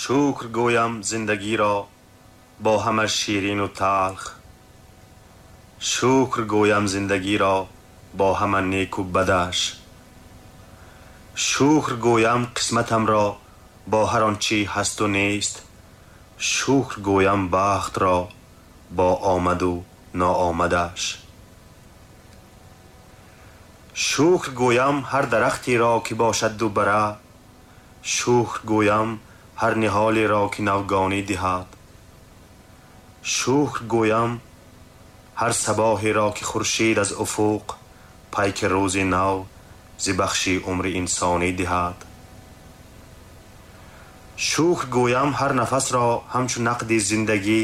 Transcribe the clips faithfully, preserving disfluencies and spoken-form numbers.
Шукр гӯям зиндагиро бо ҳама ширину талх. Шукр гӯям зиндагиро бо ҳама неку бадаш. Шукр гӯям қисматамро бо ҳар он чи ҳасту нест. Шукр гӯям бахтро бо омаду ноомадаш. Шукр гӯям ҳар дарахтеро ки бошад дубара. Шукр гӯям ҳар ниҳолеро ки навгонӣ диҳад. Шукр гӯям ҳар сабоҳеро ки хуршед аз уфуқ пайки рӯзи нав зи бахши умри инсонӣ диҳад. Шукр гӯям ҳар нафасро ҳамчу нақди зиндагӣ,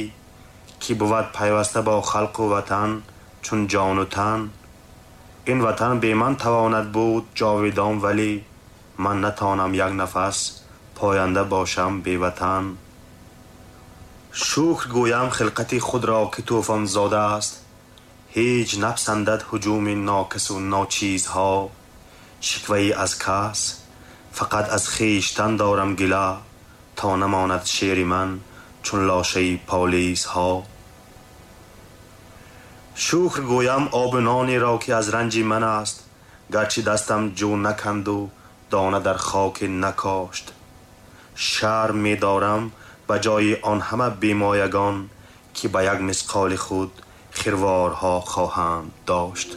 ки бувад пайваста бо халқу ватан чун ҷону тан. Ин ватан бе ман тавонад буд ҷовидон, вале ман натонам як нафас поянда бошам беватан. Шукр гӯям хилқати худро ки тӯфонзода аст. Ҳеҷ напасандад ҳуҷуми нокасу ночизҳо. Шиквае аз кас, фақат аз хештан дорам гила, то намонад шеъри ман чун лошаи полисҳо. Шукр гӯям обу нонеро ки аз ранҷи ман аст, гарчи дастам ҷӯ наканду дона дар хоке накошт. Шарм медорам ба ҷои он ҳама бемоягон, ки ба як мисқоли худ хирворҳо хоҳанд дошт.